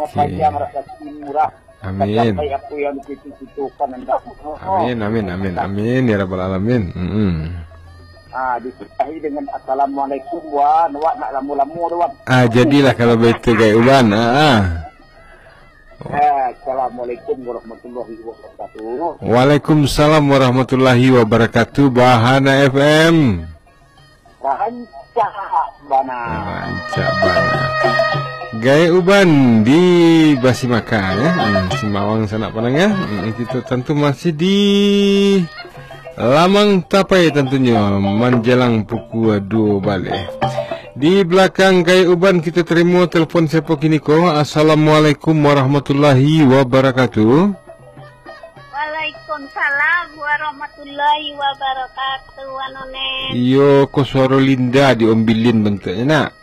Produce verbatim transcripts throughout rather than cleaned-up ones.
Okey. Panjang rasaki murah. Amin. Sampai apa yang dicita-citakan anda. Amin, amin, amin, amin, ya rabbal alamin. Mm-mm. Ah, disudahi dengan assalamualaikum, Wan. Wak nak lamo-lamo tu, Wan. Ah, jadilah kalau begitu, Gai Uban. Ah, ah. Eh, assalamualaikum warahmatullahi wabarakatuh. Waalaikumsalam warahmatullahi wabarakatuh. Bahana F M. Rancak bana. Rancak bana. Gai Uban di Basimaka, ya. Hmm, Simawang sanak pandanga. Hmm, kita tantu masih di Lamang Tapai tantunyo, manjalang pukua duo baleh. Di balakang Gai Uban kita tarimo telepon siapo kini ko? Assalamualaikum warahmatullahi wabarakatuh. Waalaikumsalam warahmatullahi wabarakatuh, Wan Onen. Iyo, ko suaro Linda di Ombilin bantuaknyo, nak.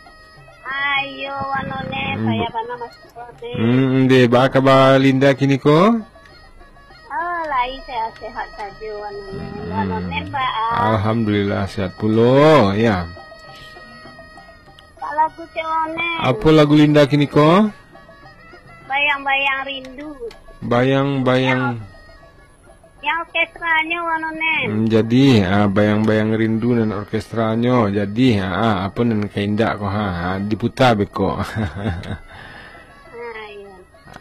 Ah, iyo, Wan Onen, hmm, payah bana masuk Wan Onen. Hmm, deh, baa kaba Linda kini ko? Oh, lai sehat-sehat sajo, Wan Onen. Hmm. Wan Onen, baa? Alhamdulillah, sehat pulo, ya. Pak lagu cewek Onen. Apo lagu Linda kini ko? Bayang-bayang rindu. Bayang-bayang. Yang, yang orkestranyo Wan Onen. Hmm, jadi, ah, bayang-bayang rindu nan orkestranyo. Jadi, ah, ah, apo nan ka indak ko, ha, ha, diputa beko. Ah, iyo.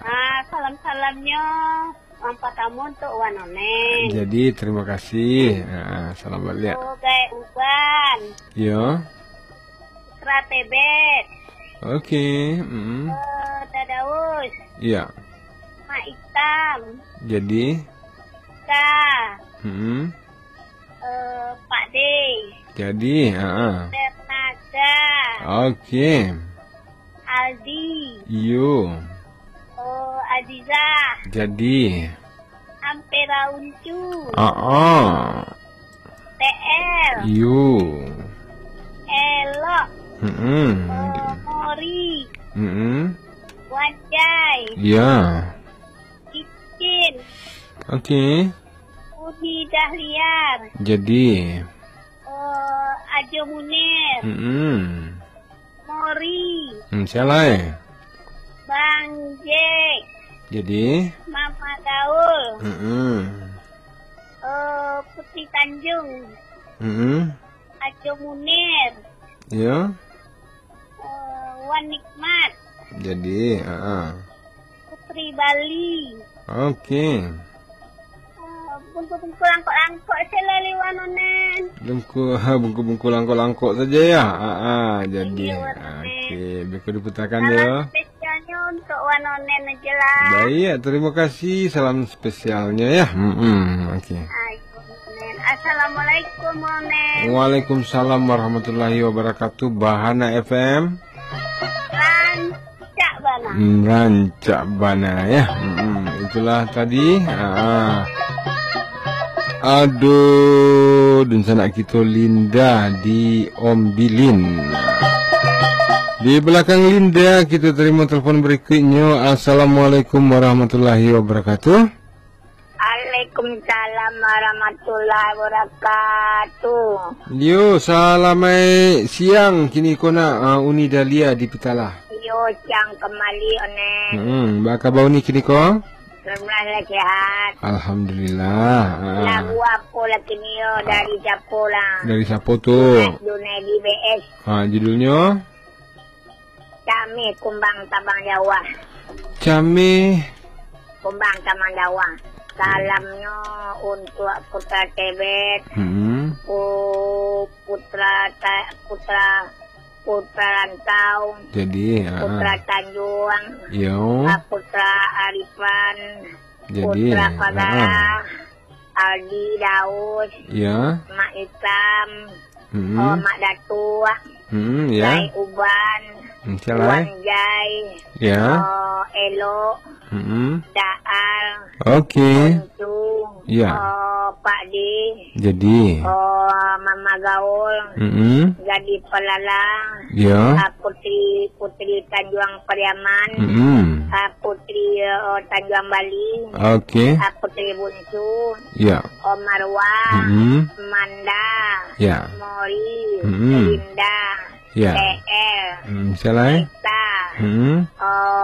Ah, salam-salamnyo yang partamo untuk Wan Onen. Jadi, terima kasih. Ah, salam baliak. Oh, Gai Uban. Yo. Putra Tebet. Oke, mm. Eh, Dadaus. Iya. Mak Itam. Jadi? Ka. Mm. Eh, Pak De. Jadi, ha. Ternaga. Oke. Aldi. Iyo. Eh, Aziza. Jadi. Ampera Uncu. Ah, ah. T L. Iyo. Elok. Mm-mm. Eh, Mori. Mm-mm. Wanjai. Ya. Cicin. Oke. Uni Dahliar. Jadi. Eh, Ajo Munir. Mm-mm. Mori. Hmm, sia lai? Bang Jack. Jadi? Mama Gaul. Mm-mm. Eh, Putri Tanjung. Mm-mm. Ajo Munir. Yo. Eh, Wan Nikmat. Jadi, ha. Putri Bali. Oke. Eh, bungku-bungku langkok-langkok se lah, Wan Onen. Bungku, bungku-bungku langkok-langkok saja ya. Ha, ha, jadi. Iya, Wan Onen. Oke, beko diputakan. Salam ya. Spesialnyo untuk Wan Onen aja lah. Baik, terima kasih. Salam spesialnya ya. Hmm, oke. Ayo, Wan Onen. Assalamualaikum, Wan Onen. Waalaikumsalam warahmatullahi wabarakatuh. Bahana F M. Rancak bana. Hmm, rancak bana ya. Hmm, itulah tadi. Ah. Aduh, dunsanak kito Linda di Ombilin. Di balakang Linda, kito tarimo telepon barikuiknyo. Assalamualaikum warahmatullahi wabarakatuh. Waalaikumsalam warahmatullahi wabarakatuh. Yo, salamaik siang kini ko nak, ah, Uni Dahlia di Pitalah. Yo, siang kembali, Onen. Hmm, baa kaba Uni kini ko? Alhamdulillah, sehat. Alhamdulillah. Ah. Lagu apo lah kini yo, dari siapo lah? Dari siapo tu? Junaidi B S. Ah, judulnyo? Cameh Kumbang Tabang Jauah. Cameh. Kumbang Tabang Jauah. Salamnyo untuk Putra Tebet, hmm. Pu-, Putra Ta-, Putra, Putra Rantau, jadi, ah, Putra Tanjuang, yo. Ah, Putra Arifan, jadi, Putra Fadara, ah. Aldi Daus, ya. Mak Itam, hmm. Oh, Mak Datuak, hmm, ya. Jai Uban, hmm, siapa, Wan Jai, ya. Oh, Elok, hmm. Daal, oke. Oncu, ya. Oh, Pak Di, jadi. Oh, Mama Gaul, hmm. Gadis Pelalang, ya. Ah, Putri, Putri Tanjuang Pariaman, hmm. Ah, Putri, oh, Tanjuang Bali, oke. Ah, Putri Buncu, ya. Omarwa, hmm. Manda, ya. Mori, hmm. Linda, ya. T L, hmm, siapa lai? Nita, hmm. Oh,